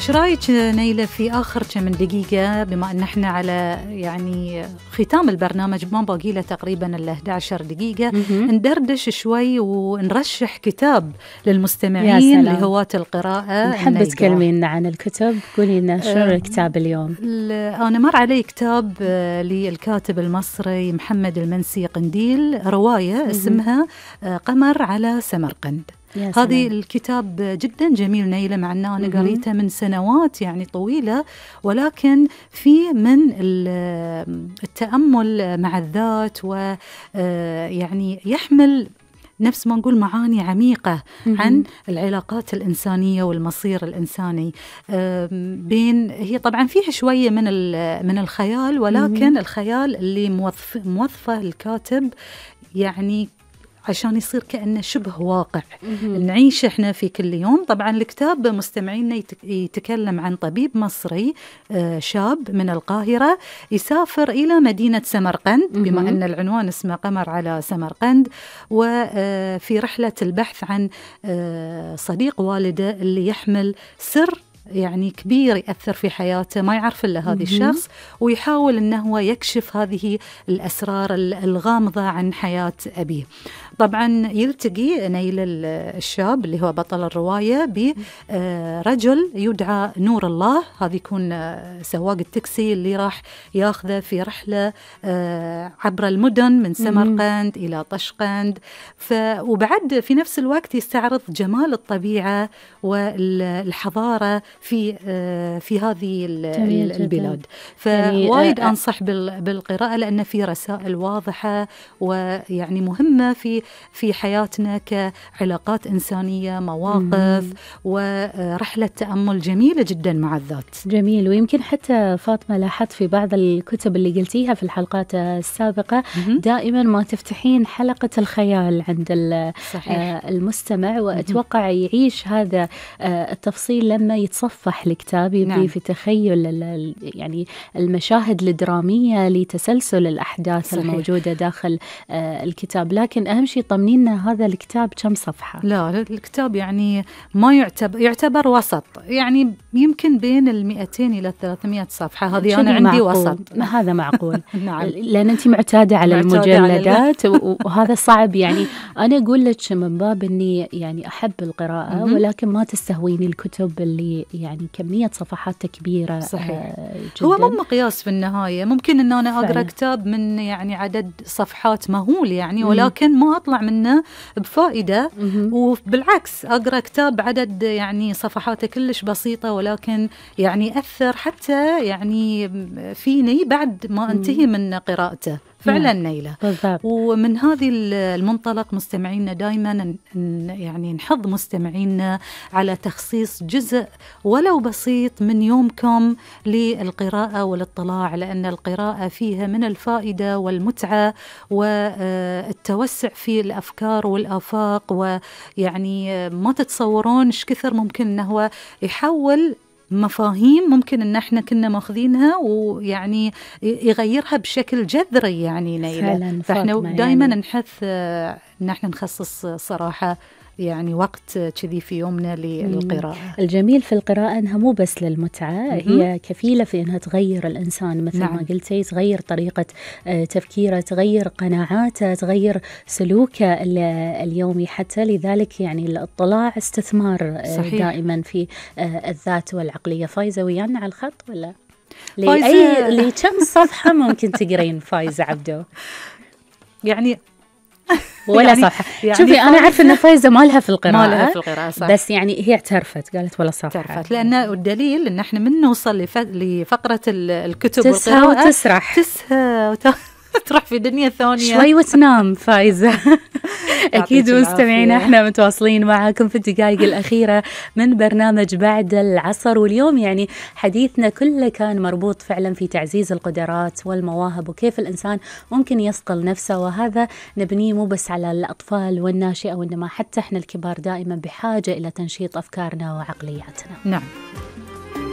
ايش رايك نيلة في آخر كم من دقيقة، بما أن احنا على يعني ختام البرنامج، ما باقي له تقريبا إلا 11 دقيقة، ندردش شوي ونرشح كتاب للمستمعين لهواة القراءة. نحب تكلمينا عن الكتب، قولي لنا شنو الكتاب اليوم؟ أنا مر علي كتاب للكاتب المصري محمد المنسي قنديل، رواية اسمها قمر على سمرقند. هذه الكتاب جدا جميل نيلة، مع أنه أنا قريته من سنوات يعني طويلة، ولكن في من التأمل مع الذات، ويعني يحمل نفس ما نقول معاني عميقة عن العلاقات الإنسانية والمصير الإنساني. هي طبعا فيها شوية من الخيال، ولكن الخيال اللي موظفه الكاتب يعني عشان يصير كأنه شبه واقع نعيش احنا في كل يوم. طبعا الكتاب مستمعينا يتكلم عن طبيب مصري شاب من القاهرة يسافر إلى مدينة سمرقند، بما أن العنوان اسمه قمر على سمرقند، وفي رحلة البحث عن صديق والده اللي يحمل سر يعني كبير يأثر في حياته، ما يعرف إلا هذا الشخص، ويحاول أنه هو يكشف هذه الأسرار الغامضة عن حياة أبيه. طبعا يلتقي نيل الشاب اللي هو بطل الرواية برجل يدعى نور الله، هذا يكون سواق التاكسي اللي راح ياخذه في رحلة عبر المدن من سمرقند إلى طشقند، وبعد في نفس الوقت يستعرض جمال الطبيعة والحضارة في هذه البلاد. فوايد أنصح بالقراءة، لأن في رسائل واضحة ويعني مهمة في حياتنا كعلاقات إنسانية، مواقف ورحلة تأمل جميلة جدا مع الذات. جميل. ويمكن حتى فاطمة لاحظت في بعض الكتب اللي قلتيها في الحلقات السابقة دائما ما تفتحين حلقة الخيال عند المستمع، وأتوقع يعيش هذا التفصيل لما يتصفح الكتاب، يبدي في تخيل يعني المشاهد الدرامية لتسلسل الأحداث الموجودة داخل الكتاب. لكن أهم شيء طمنينا هذا الكتاب كم صفحة؟ لا الكتاب يعني ما يعتبر وسط، يعني يمكن بين 200 إلى 300 صفحة، هذه أنا عندي وسط. هذا معقول. نعم. لأن أنت معتادة على المجلدات وهذا صعب. يعني أنا أقول لك من باب أني يعني أحب القراءة، ولكن ما تستهويني الكتب اللي يعني كمية صفحات كبيرة. صحيح. جداً. هو مو مقياس في النهاية، ممكن أن أنا أقرأ كتاب من يعني عدد صفحات مهول يعني، ولكن ما أطلع منه بفائدة، وبالعكس أقرأ كتاب عدد يعني صفحاته كلش بسيطة، ولكن يعني أثر حتى يعني فيني بعد ما أنتهي من قراءته. فعلا نيلة. ومن هذه المنطلق مستمعينا دائما يعني نحض مستمعينا على تخصيص جزء ولو بسيط من يومكم للقراءة والاطلاع، لأن القراءة فيها من الفائدة والمتعة والتوسع في الأفكار والآفاق، ويعني ما تتصورون ايش كثر ممكن أنه هو يحول مفاهيم ممكن ان احنا كنا ماخذينها ويعني يغيرها بشكل جذري يعني نيلة. فاحنا دائما يعني نحث ان احنا نخصص صراحة يعني وقت كذي في يومنا للقراءة. الجميل في القراءة أنها مو بس للمتعة، هي كفيلة في أنها تغير الإنسان مثل ما قلتي، تغير طريقة تفكيره، تغير قناعاته، تغير سلوكه اليومي حتى. لذلك يعني الاطلاع استثمار دائما في الذات والعقلية. فايزة ويانا على الخط ولا؟ كم صفحة ممكن تقرين فايزة عبدو؟ يعني ولا يعني صفحة. يعني شوفي أنا عارفة أن فايزة ما لها في القراءة، صح. بس يعني هي اعترفت، قالت ولا صفحة. اعترفت، لأن الدليل أن احنا من نوصل لفقرة الكتب تسهى والقراءة وتسرح، تسهى تروح في دنيا ثانية شوي وتنام فايزة. أكيد مستمعينا احنا متواصلين معاكم في الدقائق الأخيرة من برنامج بعد العصر، واليوم يعني حديثنا كله كان مربوط فعلا في تعزيز القدرات والمواهب، وكيف الإنسان ممكن يصقل نفسه، وهذا نبنيه مو بس على الأطفال والناشئة، وإنما حتى احنا الكبار دائما بحاجة إلى تنشيط أفكارنا وعقلياتنا. نعم.